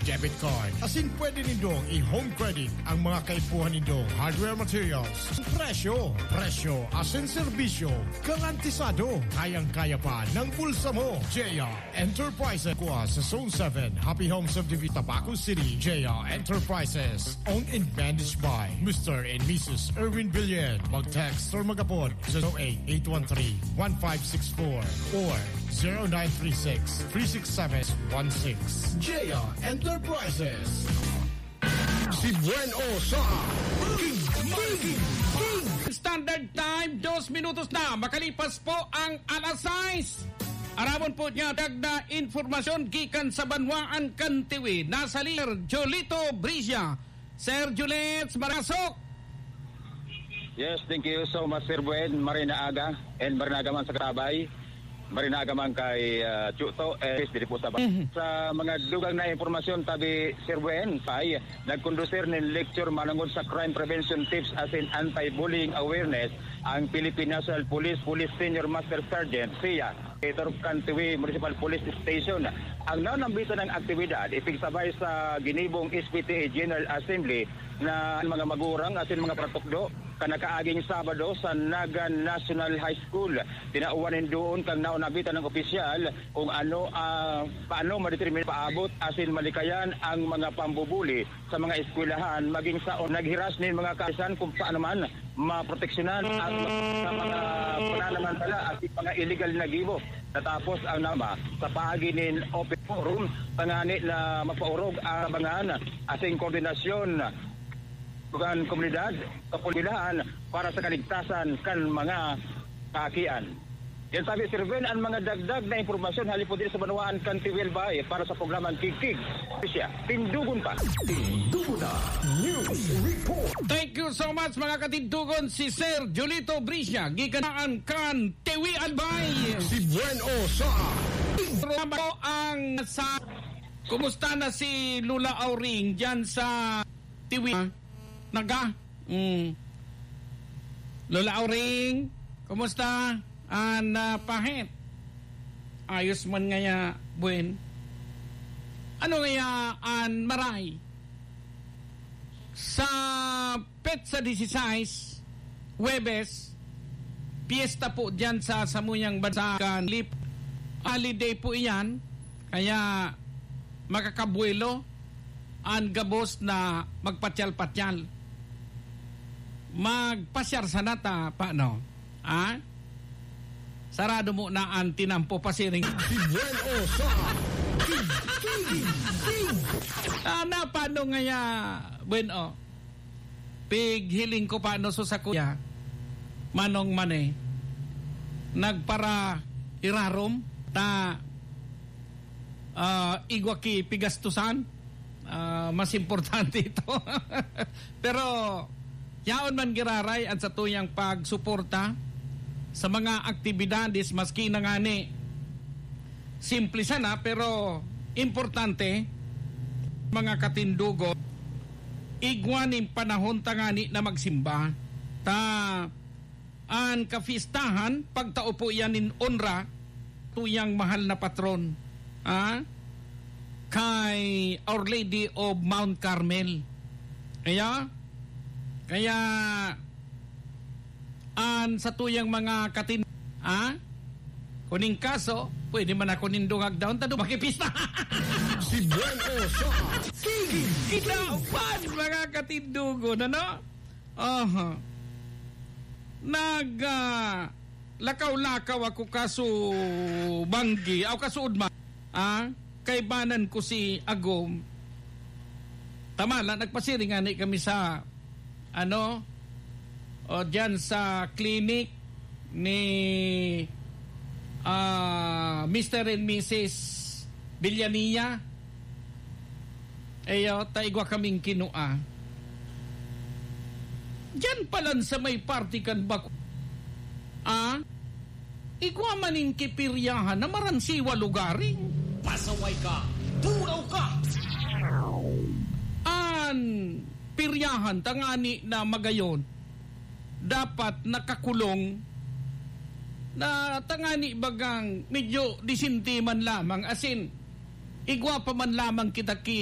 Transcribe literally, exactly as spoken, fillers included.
debit card. Asin pwede nindong i-home credit ang mga kaipuhan nindong hardware materials. Presyo, presyo, asin serbisyo, garantisado. Kayang-kaya pa ng bulsa mo. J R Enterprises. Kuha sa Zone seven, Happy Home Subdivision, Tabaco City. J R Enterprises, owned and managed by Mister and Missus Erwin Billion. Mag-text or mag-apod sa zero eight eight one three one five six four or zero nine three six three six seven one six. J R Enterprises. Si Buen O sa King, King, King. Standard Time, dos minutos na makalipas po ang alas sais. Aramon po niya dagdag na impormasyon gikan sa banwaan kan Tiwi. Nasa linya, Jolito Brizia. Sir Juliet, marasok. Yes, thank you so much, Sir Buen. Maray na aga, and maray na aga man sa katabay. Maray na aga man kay, ah, Chuto, eh, diri po sa ba-, Mhm. Sa mga dugang na impormasyon, tabi, Sir Buen, ay nagkondusir nin lecture manungod sa crime prevention tips asin anti-bullying awareness ang Philippine National Police, Police Senior Master Sergeant, siya, Editor kan Tiwi Municipal Police Station. Ang nanambitan ng aktibidad, ipigsabay sa ginibong S P T A General Assembly na mga magurang asin mga patukdo kan nakaaging Sabado sa Naga National High School. Tinawan nin doon kan nanambitan ng opisyal kung ano, ah, paano madetermina, paabot asin malikayan ang mga pambubuli sa mga eskwelahan, maging sa naghiras nin mga kaayusan kung paano man maproteksyonan ang sa mga pananamantala at mga iligal na gibo. Natapos ang nama sa paagi nin open forum, tangani na mapaorog ang abangan asin koordinasyon kan komunidad, kapulihan para sa kaligtasan kan mga kaakian. Yan sabi, Sir Ben, ang mga dagdag na impormasyon halipod din sa banwaan kan Tiwi Albay para sa programang Kigkig. Siya, tindugon pa. Tindugon na News Report. Thank you so much, mga katindugon. Si Sir Julito Brizia, gikan kan Tiwi Albay. Si Buen O sa Programa ko ang sa, kumusta na si Lola Auring dyan sa Tiwi? Naga? Mm. Lola Auring, kumusta? An, ah, pahit. Ayos man ngaya, Buen. Ano ngaya an maray? Sa petsa disisais, Huwebes, piyesta po diyan sa samuyang bansa kan lip. Holiday po iyan, kaya makakabuelo an gabos na magpatyal-patyal. Magpasyar sana ta, paano? Ha? Sarado mo na an tinampo pasiring. Si Buen O sa King, King, King. Ah, na, paano ngaya, Buen O? Pighiling ko pa, no, so sa kuya, Manong Mane, nagpara irarom ta, ah, igwa ki pigastusan. Ah, mas importante ito. Pero, yaon man giraray ang satuyang pagsuporta sa mga aktibidades, maski na ngani simple sana, pero importante, mga katindugon, igwa nin panahon tangani na magsimba. Ta, an kapistahan, pagtao po iyan nin onra, tuyang mahal na patron, ha? Kay Our Lady of Mount Carmel. Kaya, kaya, an satuyang mga katin-, ha? Kuning kaso, pwede man ako nindong agdaon, tado makipista. Si Buen O sa King. Kinaban, mga katindugon, ano? Aha. Nag, ah, lakaw-lakaw ako kaso banggi, aw kaso udma. Ah, kaibanan ko si Agom. Tama la, nagpasiring ngani kami sa, ano, o, diyan sa clinic ni, ah, Mister and Missus Villania. Eyo, ta igwa kaming kinua. Diyan pa lang sa may party kan bako. Ah? Igwa man nin kipiryahan na maransiwa lugaring. Pasaway ka, buraw ka. An piryahan tangani na magayon, dapat nakakulong na tangani bagang medyo disente man lamang, asin igwa pa man lamang kita ki